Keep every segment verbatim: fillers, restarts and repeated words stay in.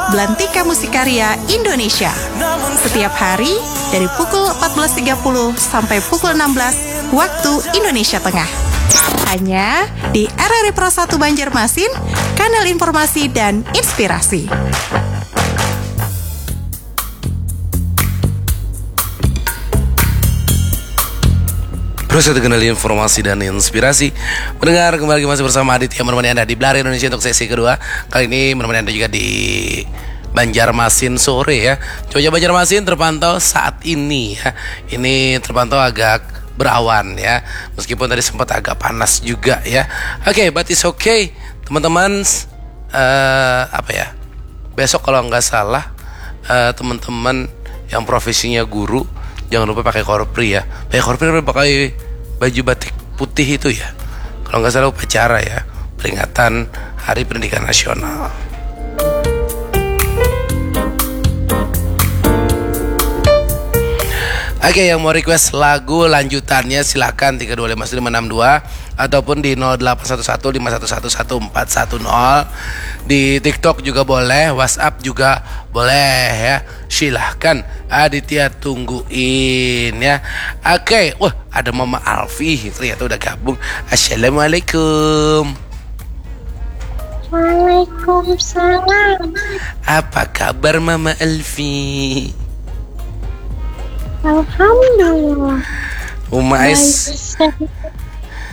Belantika Musik Karya Indonesia. Setiap hari dari pukul empat belas tiga puluh sampai pukul enam belas waktu Indonesia Tengah. Hanya di R R I Pro satu Banjarmasin, kanal informasi dan inspirasi. Terus itu kenali informasi dan inspirasi. Mendengar kembali masih bersama Aditya menemani Anda di Belari Indonesia untuk sesi kedua. Kali ini menemani Anda juga di Banjarmasin sore ya. Cuaca Banjarmasin terpantau saat ini ya. Ini terpantau agak berawan ya. Meskipun tadi sempat agak panas juga ya. Oke, but it's okay. Teman-teman, eh, apa ya? Besok kalau nggak salah, eh, teman-teman yang profesinya guru, jangan lupa pakai korpri ya. Pakai korpri, pakai baju batik putih itu ya. Kalau nggak salah upacara ya, peringatan Hari Pendidikan Nasional. Oke, yang mau request lagu lanjutannya silakan tiga dua lima lima enam dua ataupun di nol delapan satu satu lima satu satu satu empat satu nol. Di TikTok juga boleh, WhatsApp juga boleh ya. Silahkan, Aditya tungguin ya. Oke, wah, ada Mama Alfi ternyata udah gabung. Assalamualaikum. Waalaikumsalam. Apa kabar Mama Alfi? Alhamdulillah. Uma Baik. Ais,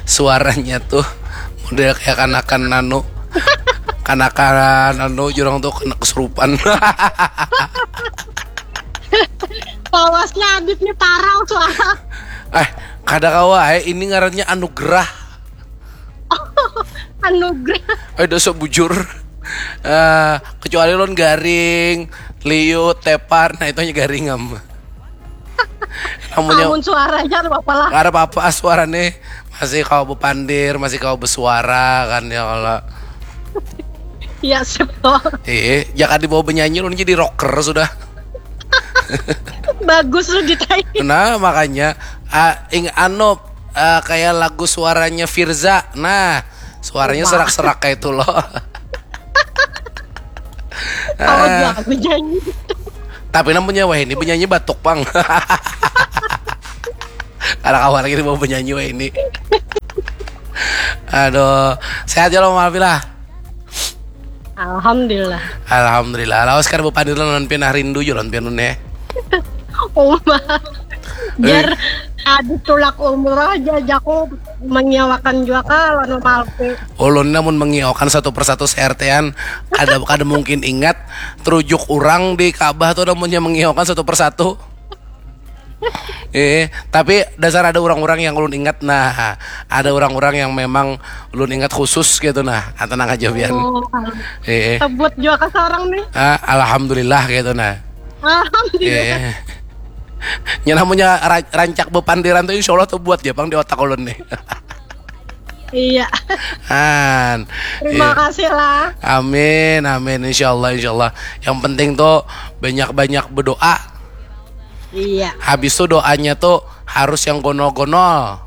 suaranya tuh model kayak kanakan anu. Kanakan anu, jurang tuh kena kesurupan. Lawasnya Adit nih parah suara. Eh, kada kawa, eh, ini ngarannya anugerah. Anugerah. Eh, dosa bujur. Eh, kecuali lon garing, liut, tepar, nah itu hanya garing am. Namanya Namun suaranya apa lah. Nggak ada apa-apa, suaranya masih kau bepandir, masih kau bersuara kan ya kalau. Ya septo. Eh, jangan dibawa bernyanyi, lu jadi rocker sudah. Bagus lu di tai. Nah, makanya ah, ing anu ah, kayak lagu suaranya Firza. Nah, suaranya Wah. Serak-serak kayak itu loh. Kalau Ah, jago nyanyi. Tapi namanya wah ini penyanyi batuk pang. Ada kawan lagi mau penyanyi wah ini. Aduh, sehat ya lo Malvila. Alhamdulillah. Alhamdulillah. Lawas kan bepandir lawan pian ah, rindu jo lawan pian ne. Uma. Biar Adit tulak umroh aja jaku menyewakan juga ka lawan Malvi. Ulun namun mengiaukan satu persatu se-RT-an kada kada mungkin ingat terujuk orang di Ka'bah tuh namunnya mengiaukan satu persatu. Eh, tapi dasar ada orang-orang yang ulun ingat. Nah, ada orang-orang yang memang ulun ingat khusus gitu nah. Ah, tenang aja pian. Oh, Eh, sebut juga ke seorang nih. ah, alhamdulillah gitu nah. Alhamdulillah. Eh. Nya namanya ra- rancak bepandiran tuh insya Allah tuh buat ya pang di otak ulun nih. Iya. An. Terima Iya. Kasih lah. Amin, amin. Insya Allah, insya Allah. Yang penting tuh banyak-banyak berdoa. Iya. Habis tuh doanya tuh harus yang gonol-gonol.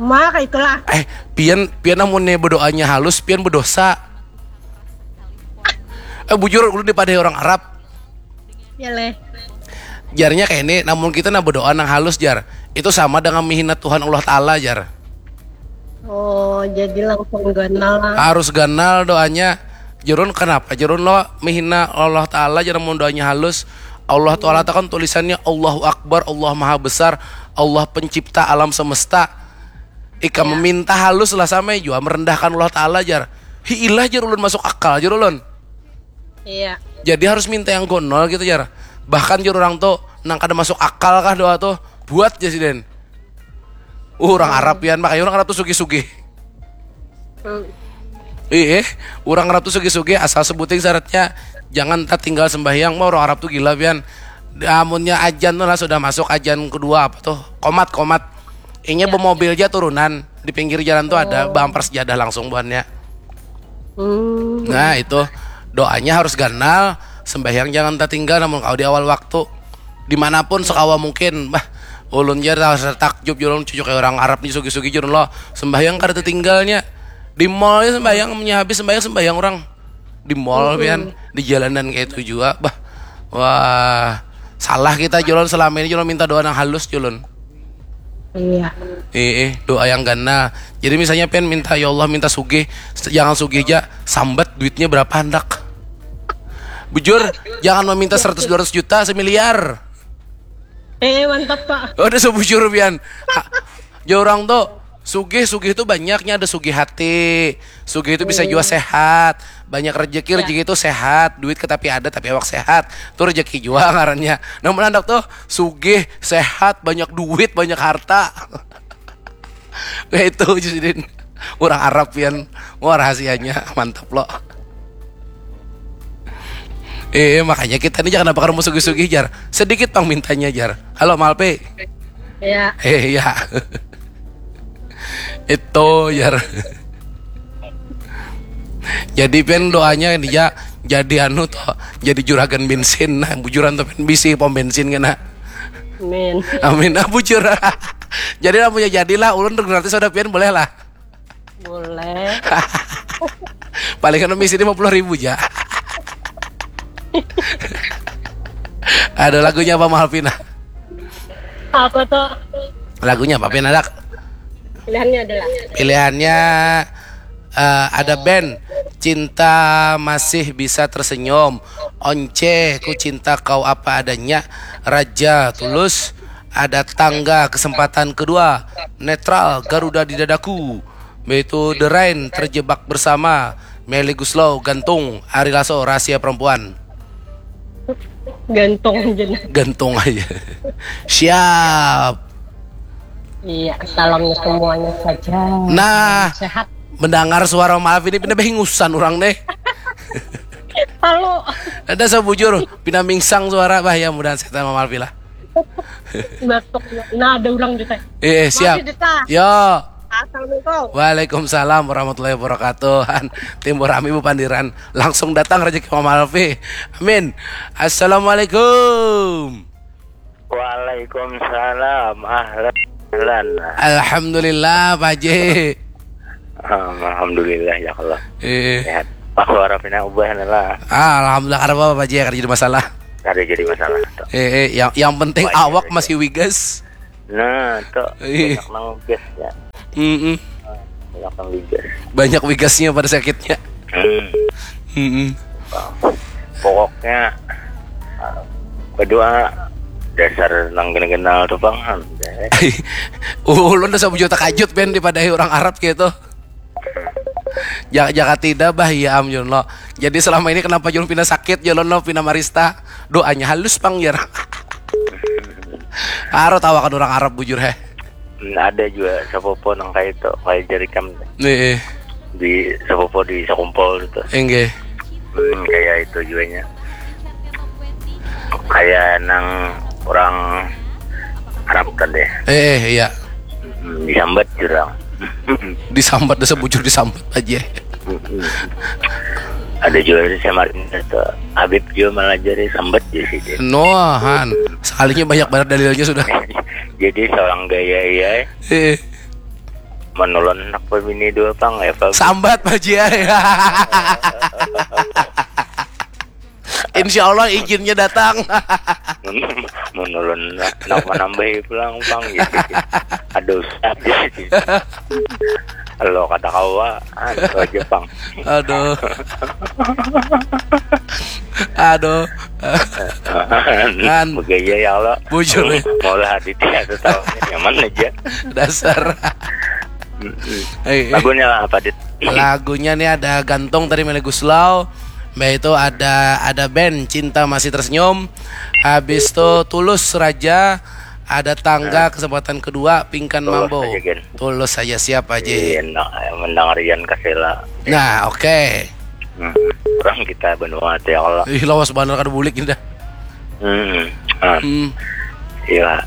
Maka itulah. Eh, pian pian namun nih berdoanya halus, pian berdosa. Eh, bujur, lu dipadai orang Arab. Ya leh. Jarnya kayak ini, namun kita nah berdoa nang halus jar. Itu sama dengan menghina Tuhan Allah Ta'ala jar. Oh, jadi langsung ganal lah. Harus ganal doanya. Jerun kenapa? Jerun lo menghina Allah Ta'ala jar namun doanya halus. Allah Ta'ala itu kan tulisannya Allahu Akbar, Allah Maha Besar, Allah pencipta alam semesta. Ika meminta halus lah sama jua merendahkan Allah Ta'ala jar. Hiilah jar ulun masuk akal jar ulun. Iya. Jadi harus minta yang gonol gitu jar. Bahkan jar orang tuh nang kada masuk akal kah doa tuh buat jar siden. Uh, orang Arab pian makanya orang Arab tuh sugih-sugih. Hmm. Ih, orang Arab tuh sugih-sugih asal sebuting syaratnya jangan tertinggal sembahyang. Mau orang Arab tuh gila pian. Amunnya ajan tuh lah sudah masuk ajan kedua apa tuh komat komat. Inya bemobil aja turunan di pinggir jalan tuh ada bumper sejadah langsung buhannya. Hmm. Nah itu doanya harus ganal, sembahyang jangan tertinggal namun kau di awal waktu. Dimanapun sekawa mungkin, bah ulun ja rasa takjub jurun cucuk kayak orang Arab nih sugi-sugi jurun lo sembahyang kada tertinggalnya di mall ya sembahyang punya habis sembahyang sembahyang orang di mall pian, di jalanan kayak itu juga. Bah, wah, salah kita, Julun, selama ini, Julun, minta doa nang halus, Julun. Iya. Eh, eh, doa yang ganal. Jadi misalnya pian minta, "Ya Allah, minta sugih," jangan sugih aja, sambat duitnya berapa handak. Bujur, jangan meminta seratus dua ratus juta, semiliar. Eh, mantap, Pak. Oh, udah sebujur pian. Ah, ya orang tuh sugih, sugih itu banyaknya, ada sugih hati, sugih itu bisa juga sehat, banyak rezeki, rezeki itu sehat, duit ke tapi ada tapi awak sehat, itu rezeki juga ngarannya. Namun anak tuh sugih, sehat, banyak duit, banyak harta. Kayak itu, Justin. Orang Arab pian. Wah, rahasianya mantap lo. Eh, makanya kita ini jangan apa mau sugih-sugih, jar. Sedikit pang mintanya, jar. Halo, Malpe. Ya. Eh, ya. Itu, jar. Jadi pian doanya dia jadi anu tuh, jadi juragan bensin. Nah, bujuran tuh pian bisi pom bensin kena. Amin. Amin. Ah, bujur. Jadi lah punya jadilah, ulun gratis ada pian boleh lah. Boleh. Paling kan misi lima puluh ribu aja. Ada lagunya apa, Malvina? Apa tuh? Lagunya apa, Pin, ada? Pilihannya adalah Pilihannya eh, ada band Cinta Masih Bisa Tersenyum, Once, Ku Cinta Kau Apa Adanya, Raja, Tulus, ada Tangga, Kesempatan Kedua, Netral, Garuda di Dadaku, yaitu The Rain, Terjebak Bersama, Melly Guslow, Gantung, Ari Lasso, Rahasia Perempuan. Gantung aja. Gantung aja. Siap. Iya, salamnya semuanya saja. Nah, Sehat. Mendengar suara Malvin ini pina bahingusan orang deh. Halo. Ada sebujur, pina mingsang suara, bah, ya, mudahan sehat sama Malvin lah. Batuk. Nah, ada orang juga. Eh, siap. Masih, Dita. Yo. Assalamualaikum. Waalaikumsalam warahmatullahi wabarakatuh. Han, timbul rami bupandiran. Langsung datang rezeki Mama Alfi. Amin. Assalamualaikum. Waalaikumsalam. Ahlan. Ahlan. Alhamdulillah, Pak Haji. Alhamdulillah ya Allah. Eh, Sehat. Pak Warafina ubah lah. Ah, alhamdulillah, karena apa, Pak Haji, karena jadi masalah. Kada jadi masalah. Tuh. Eh, eh, yang yang penting Wah, awak iya, masih wigas. Nah, tuh Iya. Banyak nang gas ya. Mm-mm. Banyak nang gas. Banyak wigasnya pada sakitnya. Hmm. Mm-mm. Pokoknya ah, kedua dasar nang kenal-kenal tuh bang. Ulun udah sebujur takajut, Ben, dipadahi orang Arab gitu. Jangan, jangan tidak, bah, iya, am, Yun, lo. Jadi selama ini kenapa Yun pina sakit, Yun, lo pina marista? Doanya halus pang, jar. Aro tawakan orang Arab, bujur, heh. Hmm, ada juga sepupu nang kayak itu, kayak jari kam Nih, di sepupu di sekumpul itu. Enggak. Hmm, kayak itu juanya. Kayak nang orang Arab tadi. Eh, iya. Hmm, disambat jurang. Disambat, dah sebujur disambat aja. Ada juga di Samarinda tuh. Habib juga malah jadi sambat di sini. Noahan. Sekalinya banyak banget dalilnya sudah. Jadi seorang gaya iya Eh, menulun anak pemini dua pang ya Pak. Sambat, Pak Haji, ya. Insya Allah izinnya datang. Menulun nak menambahi pulang pang gitu. Ada ustad gitu. Lo kata kawa, anu aja pang. Aduh. Aduh. Kan begaya ya Allah. Bujur, ya. Maulah Aditya atau tahu nyaman aja. Dasar. Eh, eh. Lagunya lah apa Dit? Lagunya nih ada Gantung tadi, Melly Guslow. Mbak, itu ada ada band Cinta Masih Tersenyum. Habis itu Tulus, Raja, ada Tangga, Kesempatan Kedua, Pingkan, Tulus Mambo. Aja, Gen. Tulus saja, siap aja. Iya, nah, mendengar Ian Kasela. Nah, oke. Hmm. Orang kita benua ya Allah. Ih, lawas banget kada bulik ini dah. Hmm. Ah, Hmm. Iya.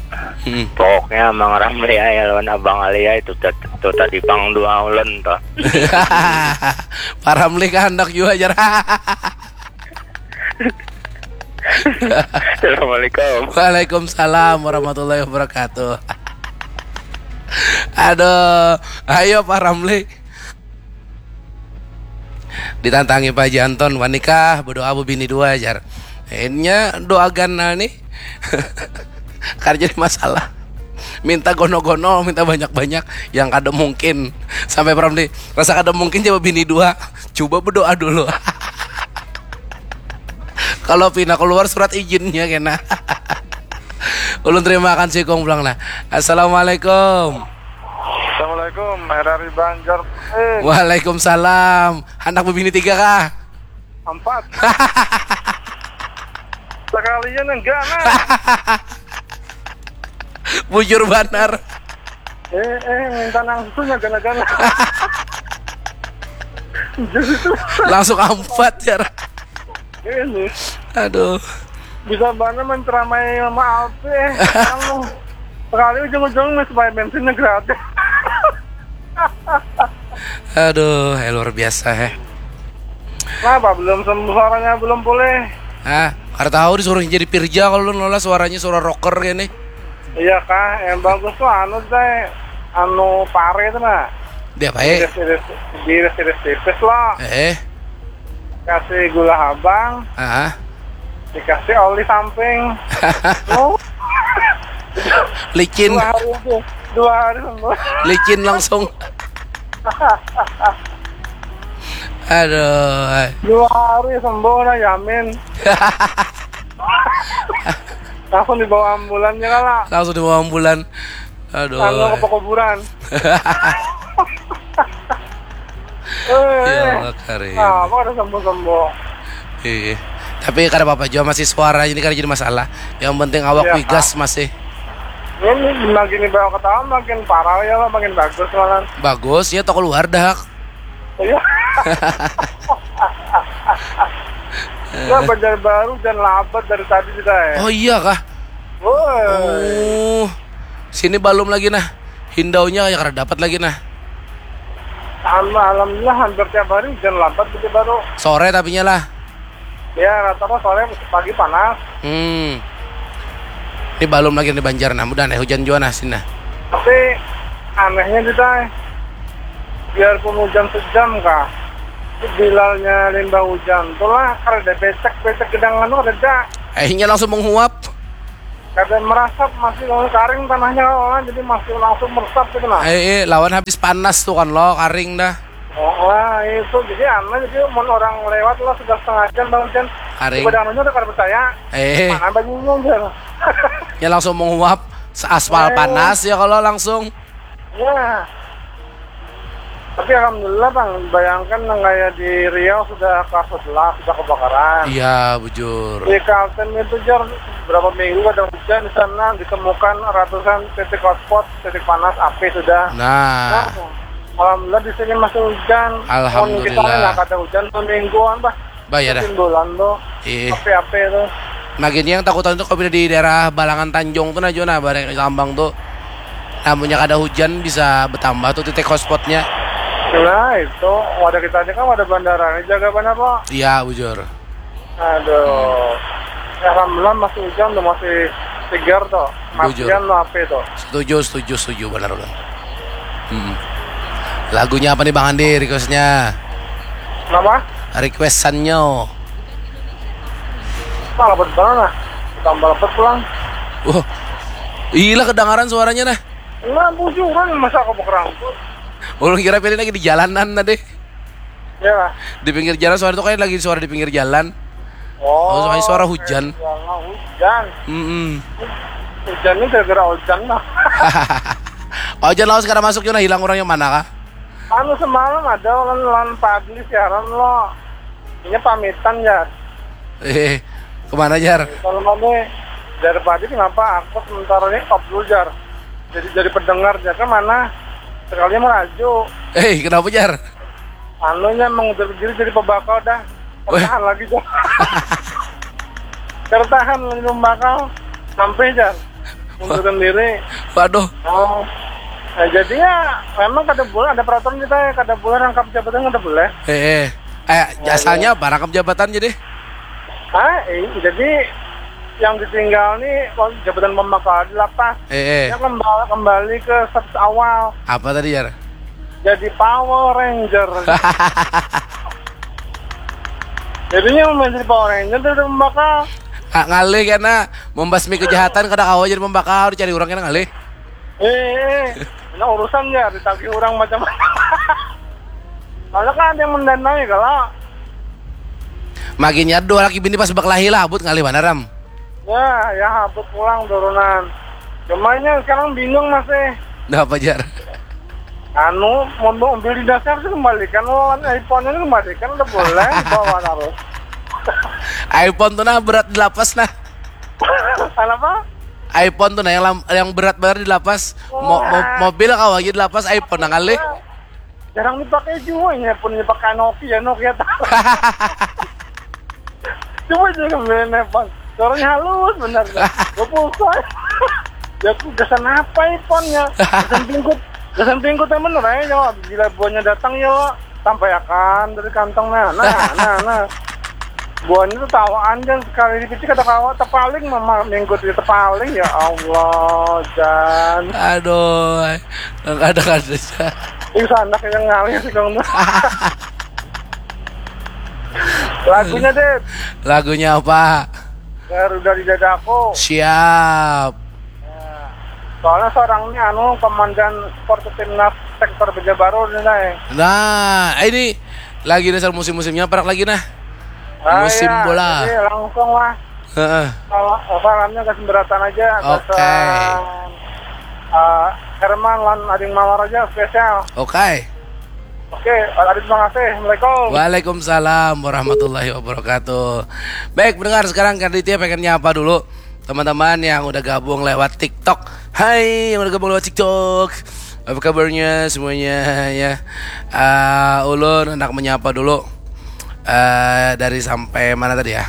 Hmm. Pokoknya Mang Ramli ya lawan Abang Ali ya itu, tat- itu tadi pang dua ulun tuh. Pak Ramli kehendak juga, jar. Assalamualaikum. Waalaikumsalam warahmatullahi wabarakatuh. Aduh, ayo Pak Ramli. Ditantangi Pak Janton, "Wani kah berdoa bebini dua?" jar. Inya doagan nah nih. Kada jadi masalah. Minta gono-gono, minta banyak-banyak, yang kada mungkin. Sampai pernah di rasa kada mungkin coba bini dua. Coba berdoa dulu. Kalau pina keluar surat izinnya kena. Ulun terima akan sikung pulang nah. Assalamualaikum. Assalamualaikum, R R I Banjar. Eh, Waalaikumsalam. Anak bebini tiga kah? Empat. Sekalian enggak nah. Bujur banar. Eh, eh, minta nang susunya gana-gana. Jadi itu Langsung empat ya. ini Aduh. Bisa mana menceramai Mama Alfi eh. Kamu sekali ujung-ujung nih supaya bensinnya gratis. Aduh, eh, luar biasa heh. Kenapa belum sembuh suaranya belum pulih? Ah, kada tahu disuruh jadi Pirja kalau lu nolak suaranya suara rocker gini. Iya kah, yang bagus tuh anu deh, anu pare itu nah. Dia apa eh? Iris-iris, diiris-iris tipis loh. Eh, Kasih gula habang, ah, dikasih oli samping. Oh, licin, dua hari itu, dua hari sembuh. Licin langsung. Aduh, eh. Dua hari sembuh nah, yamin. Langsung dibawa ambulannya kala. Langsung dibawa ambulan. Aduh. Anu ke pekuburan. Ya Eh, Allah karim. Nah, apa ada sembuh-sembuh? Iya. Tapi kada apa-apa juga, masih suara ini kada jadi masalah. Yang penting awak Iya, wigas masih. Ini makin dibawa ketawa makin parah ya lah, makin bagus malah. Bagus ya, toko luar dah. Iya. Ya Banjarbaru dan labat dari tadi kita ya. Oh iya kah? Woi. Oh. Sini balum lagi nah. Hindaunya ya kada dapat lagi nah. Alhamdulillah hampir tiap hari hujan labat Banjarbaru. Sore tapinya lah. Ya rata-rata sore, pagi panas. Hmm. Ini balum lagi di Banjar nah. Mudah nih hujan jua nah sini nah. Tapi anehnya kita biarpun hujan sejam kah, bilalnya limbah hujan tuh lah kada becek-becek gedang anu kada ada. Akhirnya langsung menguap. Kada meresap, masih karing tanahnya lah, jadi masih langsung meresap gitu nah. Eh, eh, lawan habis panas tuh kan lo, karing dah. Oh, wah itu jadi aneh, jadi mun orang lewat lah sudah setengah jam bang hujan. Karing. Tiba dangannya udah kada percaya. Eh, Mana banyunya aja. Ya langsung menguap. Aspal Eh. Panas ya kalau langsung. Ya. Tapi alhamdulillah bang, bayangkan nang kayak di Riau sudah kelas sebelas sudah kebakaran. Iya, bujur. Di Kalteng itu jar berapa minggu ada hujan di sana, ditemukan ratusan titik hotspot, titik panas, api sudah. Nah, Nah, alhamdulillah di sini masih hujan. Alhamdulillah. Mun kita nggak ada hujan semingguan bah. Bah, ya dah. Timbulan tuh. Ih. Api-api tuh. Nah, gini yang takutan tuh kalau di daerah Balangan Tanjung tuh nah, Jona, bareng Lambang tuh. Namunnya kada hujan bisa bertambah tuh titik hotspotnya. Nah itu, wadah kita aja kan wadah bandara ini jaga benar kok. Iya, bujur. Aduh. Ya, alhamdulillah masih hujan tuh, masih segar tuh. Bujur. Matian tuh api tuh. Setuju, setuju, setuju, benar ulun. Hmm. Lagunya apa nih Bang Andi requestnya? Kenapa? Requestannya. Malah betul nah. Tambah lepet pulang. Wah, gila kedengaran suaranya nah. Nah, bujuran masa aku berangkut. Ulun kira pilih lagi di jalanan tadi. Ya, Di pinggir jalan suara itu kayak lagi suara di pinggir jalan. oh. Oh, soalnya suara hujan. Suara hujan. Mm-mm. Hujan ini gara-gara hujan lah. Hujan lawas kada masuk Jona, hilang orang yang mana kah? Anu semalam ada orang lawan Padli siaran lo. Ini pamitan ya. Eh, kemana Jar? Kalau mana dari pagi kenapa aku sementara ini stop dulu jar. Jadi jadi pendengar jar ke mana? Sekalinya meraju. Eh, kenapa Jar? Anunya mengudur diri jadi pembakal dah. Weh. Bertahan lagi jar. Bertahan lagi pembakal sampai jar. Mundurkan diri. Waduh. Oh. Nah, jadi ya memang kada boleh ada peraturan kita ya, kada boleh rangkap jabatan kada boleh. Eh, eh. Eh, asalnya apa rangkap jabatan jadi? Ah, eh, jadi yang ditinggal nih oh, jabatan pembakal dilepas. Eh, eh. Dia kembali, kembali ke status awal. Apa tadi Jar? Jadi Power Ranger. Jadinya menjadi Power Ranger dari pembakal. Ah, ngalih kena membasmi kejahatan kada kawa jadi pembakal, dicari orang kena ngalih. Eh, eh. Nah, urusan ya ditagih orang macam-macam. Kalau kan ada yang mendanai kalau Maginnya dua laki bini pas berkelahi lah, abut ngalih mana ram. Ya, ya habis pulang turunan. Cumanya sekarang bingung masih. Dah apa jar? Anu, mau mobil di dasar sih kembalikan, lawan iPhone-nya kembalikan udah boleh bawa harus. iPhone tuh nah berat di lapas nah. Kenapa? iPhone tuh nah yang lam- yang berat banget di lapas. Mo- mo- mobil kau aja di lapas iPhone nah ngalih. Jarang dipakai juga, ini pun dipakai Nokia, Nokia tahu. Coba aja kembali iPhone. Suaranya halus benar. Gue pulsa. Ya aku gasan apa iPhone-nya? Gasan pingkut. Gasan pingkut yang bener aja jawab. Bila buahnya datang ya sampai akan dari kantong nah. Nah, nah, nah. Buahnya tuh tawaan dan sekali dipicik ada kawa tepaling mama mingkut itu tepaling ya Allah dan Aduh, kadang ada itu anak yang ngalir sih kamu. Lagunya deh Lagunya apa? Garuda di dadaku. Siap. Soalnya seorang ini anu komandan sport timnas sektor Banjarbaru nih nah. Nah, ini lagi dasar musim-musimnya parak lagi nah. Ah, Musim iya, bola. Jadi langsung lah. Heeh. Kalau salamnya ke semberatan aja. Oke. Gasan, eh, Herman lan Ading Mawar aja spesial. Oke. Oke, Ading terima kasih. Assalamualaikum. Waalaikumsalam warahmatullahi wabarakatuh. Baik, pendengar, sekarang Kak Ditya pengen nyapa dulu teman-teman yang udah gabung lewat TikTok. Hai, yang udah gabung lewat TikTok. Apa kabarnya semuanya ya? Ah, ulun hendak menyapa dulu. Eh, dari sampai mana tadi ya?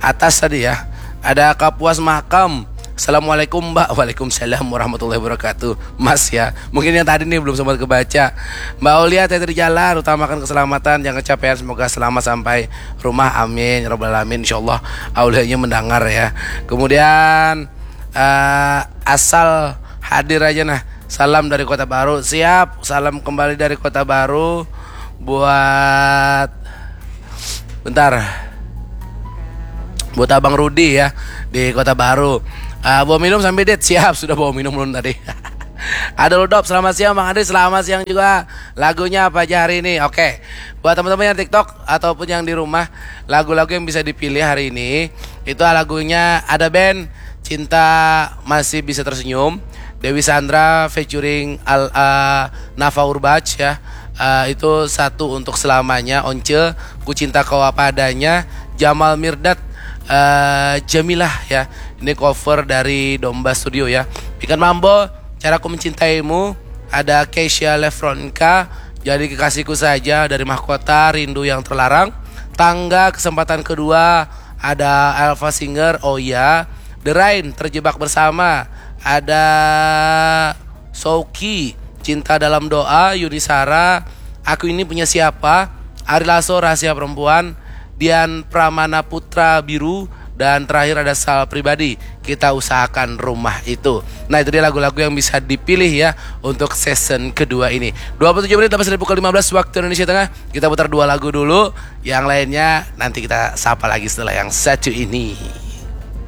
Atas tadi ya. Ada Kapuas Makam. Assalamualaikum Mbak. Waalaikumsalam warahmatullahi wabarakatuh. Mas ya. Mungkin yang tadi nih belum sempat kebaca. Mbak Aulia, hati-hati di jalan, utamakan keselamatan, jangan kecapean, semoga selamat sampai rumah. Amin ya rabbal alamin. Insyaallah Aulianya mendengar ya. Kemudian eh, asal hadir aja nah. Salam dari Kota Baru. Siap. Salam kembali dari Kota Baru buat bentar. Buat Abang Rudi ya di Kota Baru. Ah, bawa minum sambil dit. Siap, sudah bawa minum belum tadi? Ada Ludop, selamat siang Bang Andri, selamat siang juga. Lagunya apa aja hari ini? Oke. Buat teman-teman yang TikTok ataupun yang di rumah, lagu-lagu yang bisa dipilih hari ini itu lagunya ada band Cinta Masih Bisa Tersenyum, Dewi Sandra featuring Al uh, Nafa Urbach ya. Uh, itu satu untuk selamanya, Once, Ku Cinta Kau Apa Adanya, Jamal Mirdad, uh, Jamilah ya. Ini cover dari Domba Studio ya. Ikan Mambo, Caraku Mencintaimu, ada Keisha Lefronka, Jadi Kekasihku Saja dari Mahkota, Rindu Yang Terlarang, Tangga Kesempatan Kedua, ada Alpha Singer, Oh Ya, The Rain, Terjebak Bersama, ada Souki, Cinta Dalam Doa, Yuni Sara, Aku Ini Punya Siapa, Ari Lasso, Rahasia Perempuan, Dian Pramana Putra, Biru, dan terakhir ada Sal Pribadi, Kita Usahakan Rumah Itu. Nah, itu dia lagu-lagu yang bisa dipilih ya untuk season kedua ini. Dua puluh tujuh menit lepas dari pukul lima belas waktu Indonesia Tengah. Kita putar dua lagu dulu, yang lainnya nanti kita sapa lagi setelah yang satu ini.